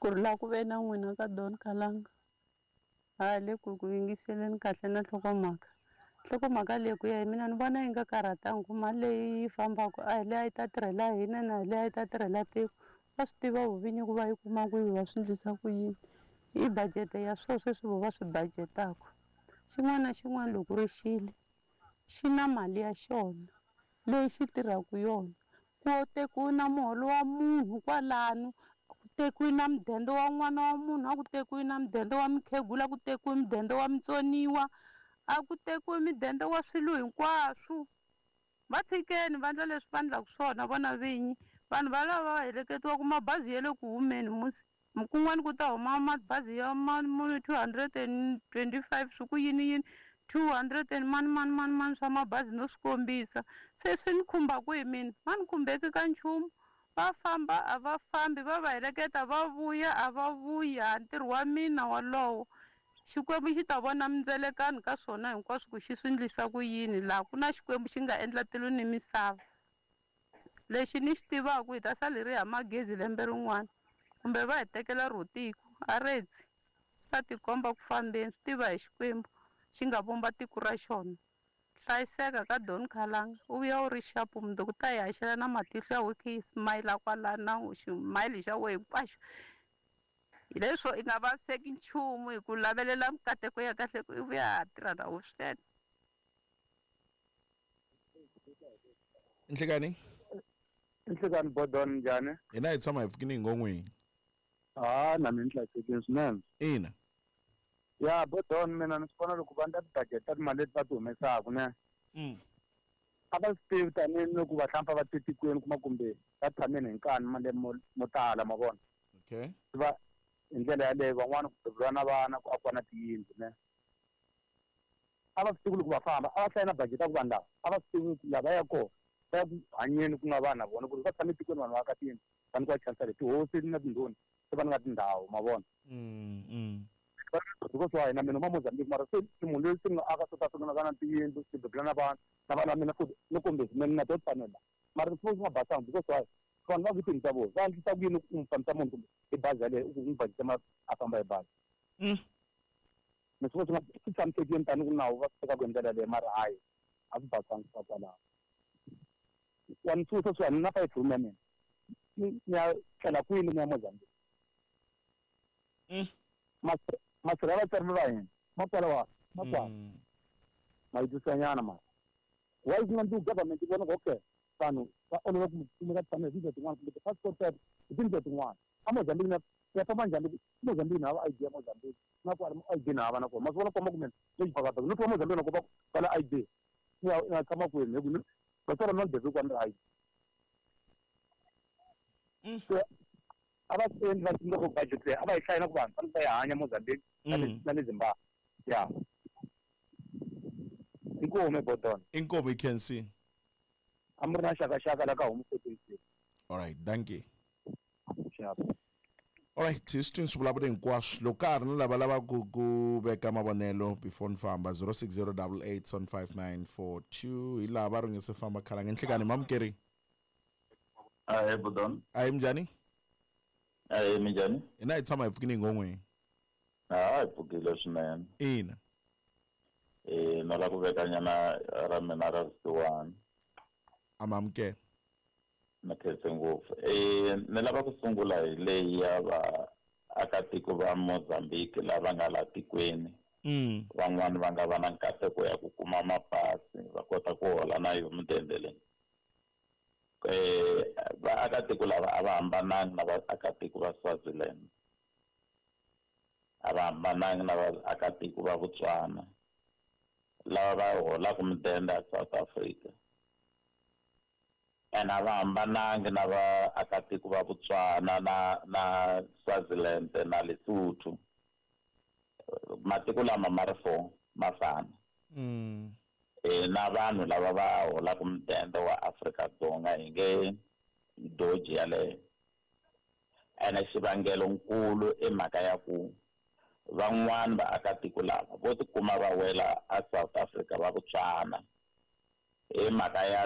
Ku ri laha ku ve na n'wina ka Don Kalanga ha le ku ku yingiseleni kahle na nhlokomhaka. Nhlokomhaka leyi ku ya hi mina ni vona yi nga karhatangi ku mali leyi yi fambaka a hi leyi a yi ta tirhela hina na hi leyi a yi ta tirhela tiko. Va swi tiva vuvinyi ku va yi kuma kwihi va swi endlisa ku yini. I budget ya swona sweswi vo va swi budget-aka. Xin'wana na xin'wana loko ri xile xi na mali ya xona leyi xi tirhaka yona. Ku tekiwe na muholo wa munhu kwalano, ku tekiwe na mudende wa n'wana wa munhu, a ku tekiwe na mudende wa mukhegula, a ku tekiwe mudende wa mutsoniwa, a ku tekiwe mudende wa swilo hinkwaswo. Va tshikeni va endla leswi va endlaka swona vona vinyi. Vanhu va lava va heleketiwa mabazi ya le ku humeni musi. Kun'wana ku ta huma mabazi ya muni 225 swi ku yini yini 200 and mani mani mani mani swa mabazi no swi kombisa. Se swi ni khumba kwihi mina? Ma ni khumbeki ka nchumu. Va famba a va fambi, va va heleketa va vuya a va vuya. Ntirho wa mina wolowo. Xikwembu xi ta vona mindzelekano ka swona hinkwaswo ku xi swi endlisa ku yini laha ku na Xikwembu xi nga endla tilo ni misava. Lexi ni xi tivaka hi ta sala hi ri hava magezi lembe rin'wana kumbe va hi tekela ro tiko a retsi swi ta tikomba ku fambeni swi tiva hi Xikwembu xi nga vumba tiko ra xona. Hlayiseka ka Don Khalanga u vuya u ri xapu mundzuku ta hi haxela na matihlo ya wena yi smile kwalano na ximayili xa wena hinkwaxo. Hi leswo i nga vaviseki nchumu hi ku lavelela mikateko ya kahle ku i vuya ha tirha na wo swinene. Nhlekani? Nhlekani Bodon njhani? Hina hi tshama hi pfukini hi ngon'wini. Ha na mina ni hlayisekile swinene. Ina. Ya Bodon mina ni swi vona loko va endla ti-budget ta timali leti va ti humesaka ne. A va swi tivi tanihi loko va hlampfa va te tikweni kuma kumbe va tshameni hi nkani malembe mo tala ma vona. Okay. Va hi ndlela yaleyo van'wana ku beburiwa na vana ku akiwa na tiyindlu ne. A va swi tivi loko va famba a va hlaya na budget ya ku vanhu lava a va swi tivi ku lava ya kona va ya ku hanyeni ku nga vanhu na vona ku ri va tshame etikweni vanhu va aka tiyindlu va nyikiwa chance leyi tihosi na tindhuna se va nga tindhawu ma vona. Because wa hina mina ma Mozambique mara se ni munhu loyi se ni nga aka South Africa na va na tiyindlu ni bebula na vana na vana mina futhi ni kombezi mina na to tfanela mara swi swi nga basanga because why vanhu va ku tiyindlu ta vona va endlisa ku yini ku n'wi fambisa munhu kumbe hi bazi yaleyo u ku n'wi budget ma a famba hi bazi. Ni swi vona swi tshamisekile tanihi ku nawu va swi tekaka hi ndlela yaleyo mara hayi a swi basanga swa kwalaho. Wa ni susa swi na 5 room ya mina ni ya tlela kwini ni ya Mozambique. Masirha ya vatswari va hina ma kwala wa ma kwala ma yi twisanyana mara why ku nga ndzi government yi vona ku okay vanhu va olova ku kumeka tshama hi tindlela tin'wana kumbe ti-passport ta hi tindlela tin'wana a Mozambique na ya famba njhani Mozambique na hava ID ya Mozambique na kwala ID na hava na kona ma swi vona komba ku mina ni xibakabaka no twa Mozambique na ku va kwala ID ni ya tshama kwini hi ku vatswari va mina ni bebe kwani ri ID. Se a va swi endli va swi loko budget leyi a va yi hlayi na ku vanhu fanele va yi hanya Mozambique na le Zimbabwe. Ya. Inkomu Bodon. Inkomu you can see. A mi ri na xakaxaka la ka Home 14. All right, thank you. Sharp. All right, hi swi twini swivulavuri hinkwaswo loko ka ha ri na lava lavaka ku veka mavonelo before ni famba 0608875942 hi laha va ri nge se famba khalanga nhlikani mamukeri. Ahee Bodon. Ahee minjhani? Ahee minjhani? Hina hi tshama hi pfukini hi ngon'weni. Ha hi pfukile swinene. Ina. Na la ku vekanyana ra mina ra vusiwana. Amamukela. Na khense ngopfu. Ni lava ku sungula hi leyi ya vaakatiko va Mozambique lava nga la tikweni. Van'wani va nga va na nkateko ya ku kuma mapasi va kota ku hola na yo mudende leyi. Vaakatiko lava a va hambanangi na vaakatiko va Swaziland. A va hambanangi na vaakatiko va Botswana lava va holaka mudende a South Africa. And a va hambanangi na vaakatiko va Botswana na Swaziland na Lesotho. Matiko lama ma ri 4 ma fana. Na vanhu lava va holaka mudende wa Afrika-Dzonga hi nge doji yaleyo. Ene xivangelo nkulu i mhaka ya ku van'wani vaakatiko lava vo tikuma va wela a South Africa va Botswana hi mhaka ya